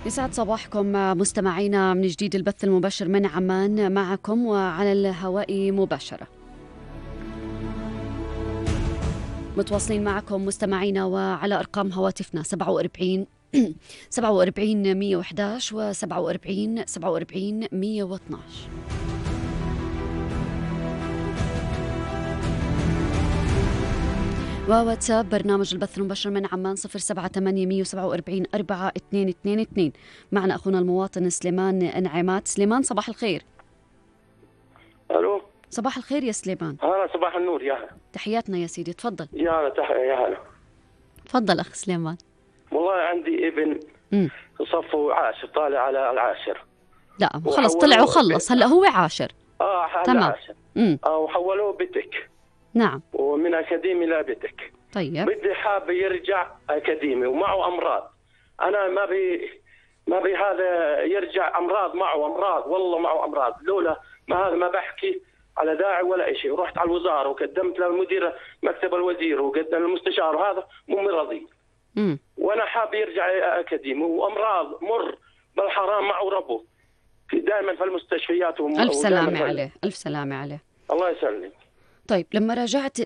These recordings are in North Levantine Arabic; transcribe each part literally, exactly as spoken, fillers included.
يسعد صباحكم مستمعينا من جديد. البث المباشر من عمان معكم وعلى الهواء مباشرة. متواصلين معكم مستمعينا وعلى أرقام هواتفنا سبعة وأربعين سبعة وأربعين مية وإحدى عشر و سبعة وأربعين سبعة وأربعين مية واثني عشر. وواتساب برنامج البث المباشر من عمان صفر سبعة ثمانية مية وسبعة وأربعين أربعة اثنين اثنين اثنين. معنا أخونا المواطن سليمان انعمات. سليمان صباح الخير. الو صباح الخير يا سليمان. هلا صباح النور. يا هلا. تحياتنا يا سيدي، تفضل. يا هلا تح... يا هلا. تفضل أخ سليمان. والله عندي ابن امم صفه عاشر، طالع على العاشر. لا خلص طلع وخلص، هلا هو عاشر. اه هلا تمام. عاشر. امم اه وحولوه بتك. نعم. ومن اكاديمي لبتك. طيب. بدي حاب يرجع اكاديمي ومعه امراض. انا ما بي ما بي هذا يرجع امراض، معه امراض، والله معه امراض. لولا ما هذا ما بحكي على داعي ولا شيء. ورحت على الوزاره وقدمت للمدير مكتب الوزير وقدمت للمستشار، وهذا مو مرضي. امم وانا حاب يرجع اكاديمي وامراض مر بالحرام معه ربه دائما في المستشفيات. وم... ألف سلامة عليه، ألف سلامة عليه. الله يسلم. طيب لما راجعت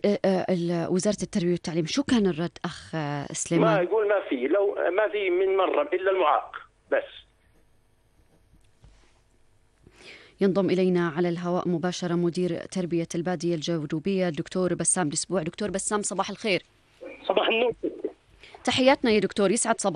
وزارة التربية والتعليم شو كان الرد أخ سليمان؟ ما يقول ما في، لو ما في من مرة إلا المعاق بس. ينضم إلينا على الهواء مباشرة مدير تربية البادية الجنوبية الدكتور بسام الأسبوع. دكتور بسام صباح الخير. صباح النور. تحياتنا يا دكتور، يسعد صباح